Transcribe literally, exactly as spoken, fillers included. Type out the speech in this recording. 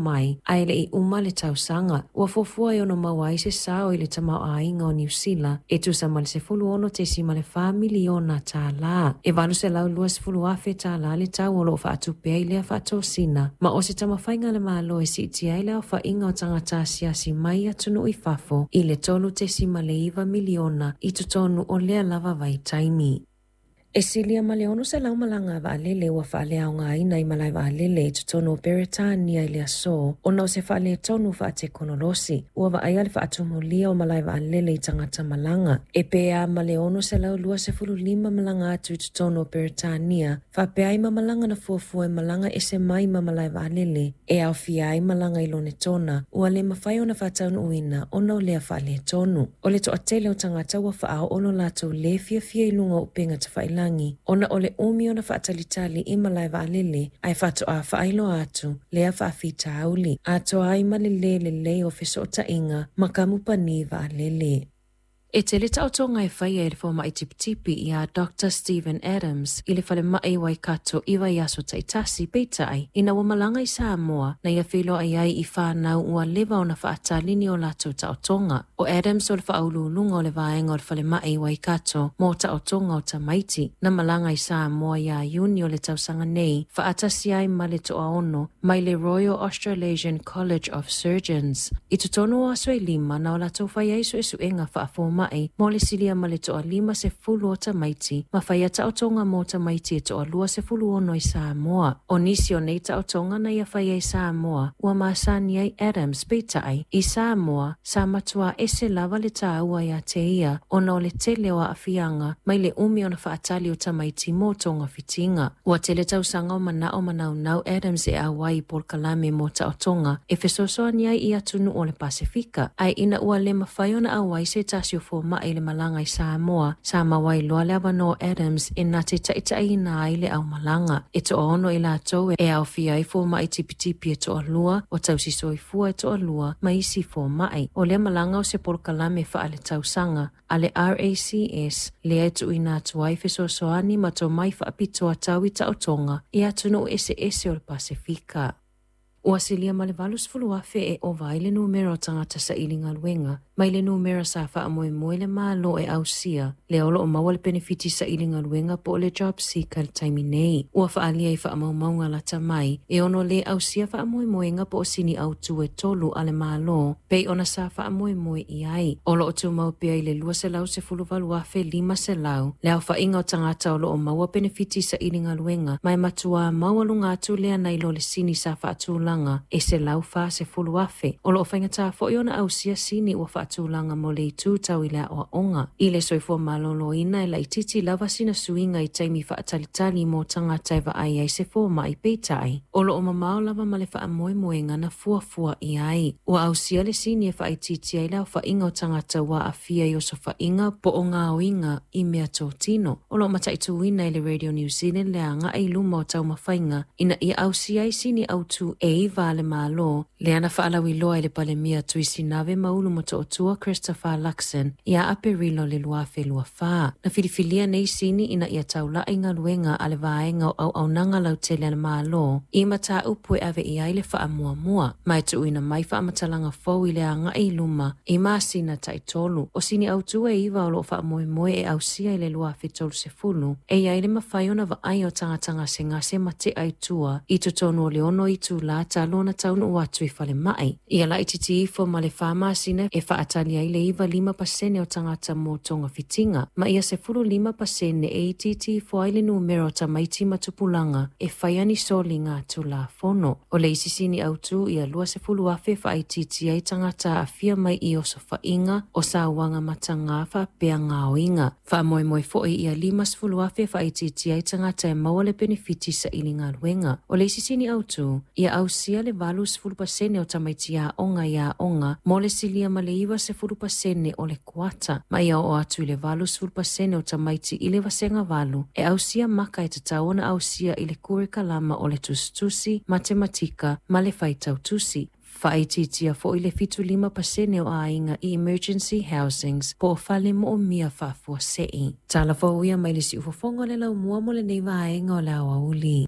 Mai ae le i uma le tausaga. Ua fuafua e ono maua ai se sao i le tamaoaiga o Niu Sila e tusa ma le sefulu ono tesima le fa miliona tālā. E valu selau lua sefulu afe tālā le tau o loo faatupe ai lea faatosina, ma o se taumafaiga a le Malo e siitia ai le aofaiga o tagata asiasi mai atunuu i fafo i le tolu tesima le iva miliona i totonu o lea lava vaitaimi. E silia ma le ono selau malaga a vaalele ua faaleaogaina i malae vaalele i totonu o Peretania i le aso ona o se faaletonu faatekonolosi. Ua vaaia le faatumulia o malae vaalele i tagata malaga. E pea ma le ono selau lua sefulu lima malaga atu i totonu o Peretania, faapea ai ma malaga na fuafua e malaga ese mai ma malae vaalele, e aofia ai malaga i Lonetona, ua le mafai ona faataunuuina ona o lea faaletonu. O le toatele o tagata ua faaoo lo latou le fiafia i luga o upega tafailagi, ona o le umi ona faatalitali i malae vaalele ae faatoa faailoa atu lea faafitauli, atoa ai ma le lē lelei o fesootaiga ma kamupani vaalele. E tele taotoga e faia e le fomai tipitipi ia Doctor Stephen Adams i le falemai Waikato i vaiaso taitasi, peitai ina ua malaga i Samoa na ia feiloai ai i whānau ua leva ona faatali ni o latou taotoga. O Adams o le faauluuluga o le vaega o le falemai Waikato mo taotoga o tamaiti na malaga i Samoa ia Iuni o le tausaga nei faatasi ai ma le toaono mai le Royal Australasian College of Surgeons. I totonu o aso e lima na o latou fai ai suesuega faafomai mo le silia ma le toalima sefulu o tamaiti ma faia taotoga mo tamaiti e toalua sefulu ono i Samoa. O nisi o nei taotoga na ia faia i Samoa ua masani ai Adams, peitai i Samoa sa matua ese lava le tāua ia te ia ona o le tele o aafiaga mai le umi ona faatali o tamaiti mo togafitiga. Ua tele tausaga o manao manaunau Adams e auai i polokalame mo taotoga e fesoasoani ai i atunuu o le Pasefika, ae ina ua le mafai ona auai se tasi o fomai i le malaga i Samoa, sa maua ai loa le avanoa o Adams e na te taitaiina ai le aumalaga. E toaono i latou e aofia ai fomai tipitipi e toalua, o tausi soifua e toalua ma isi fomai. O lea malaga o se polokalame faaletausaga a le R A C S lea e tuuina atu ai fesoasoani ma tomai faapitoa tau i taotoga i atunuu eseese o le Pasefika. Ua silia ma le valu sefulu afe e ova ai le numera o tagata saili galuega mai le numera sa faamoemoe le Malo e ausia lea o loo maua le penefiti saili galuega po o le job seeker le taimi nei. Ua faalia i faamaumauga lata mai e ono le ausia faamoemoega po o sini autu e tolu a le Malo pei ona sa faamoemoe i ai. O loo tumau pea i le lua selau sefulu valu afe lima selau le aofaiga o tagata o loo maua penefiti saili galuega ma e matua maualuga atu lea nai lo le sini sa faatulaga e selau fa sefulu afe. O loo faigata foi ona ausia sini ua faatulaga mo le itu tau i le aoaoga. I le soifua maloloina e laititi lava sina suiga i taimi faatalitali mo tagata e vaai ai se fomai, peitai o loo mamao lava ma le faamoemoega na fuafua i ai. Ua ausia le sini e faaitiiti ai le aofaiga o tagata ua aafia i osofaiga po o gaoiga i mea totino. O loo mataituina e le Radio New Zealand le agai i luma o taumafaiga ina ia ausia ai sini autu e iva a le Malo lea na faalauiloa e le Palemia Tuisinave Maulu Motootua Christopher Luxon ia Aperilo le lua afe lua fa. Na filifilia nei sini ina ia taulai galuega a le vaega o auaunaga lautele a le Malo i mataupu e ave i ai le faamuamua ma e tuuina mai faamatalaga fou i le agai i luma i masina taitolu. O sini autu e iva o loo faamoemoe e ausia i le lua afe tolu sefulu e iai le mafai ona vaai o tagata gasegase ma tea i tua i totonu o le ono itulā talu ona taunuu atu i falemai. Ia laititi ifo ma le fa masina e faatali ai le iva lima pasene o tagata mo togafitiga ma ia sefulu lima pasene e itiiti ifo ai le numera o tamaiti ma tupulaga e faia ni soliga tulafono. O le isi sini autu ia lua sefulu afe faaitiiti ai tagata aafia mai i osofaiga o sauaga matagā faapea gaoiga. Faamoemoe foi ia lima sefulu afe faaitiiti ai tagata e maua le penefiti saili galuega. O le isi sini autu ia ausia le valu sefulu pasene o tamaiti aoga i aoga mo le silia ma le iva sefulu pasene o le kuata ma ia oo atu i le valu sefulu pasene o tamaiti i le vasega valu e ausia maka e tatau ona ausia i le kurikalama o le tusitusi, matematika ma le faitautusi. Faaitiitia foi le fitu lima pasene o aiga i emergency housings po o fale moomia faafuasei. Tala fou ia mai le siufofoga o le laumua mo lenei vaega o le aoauli.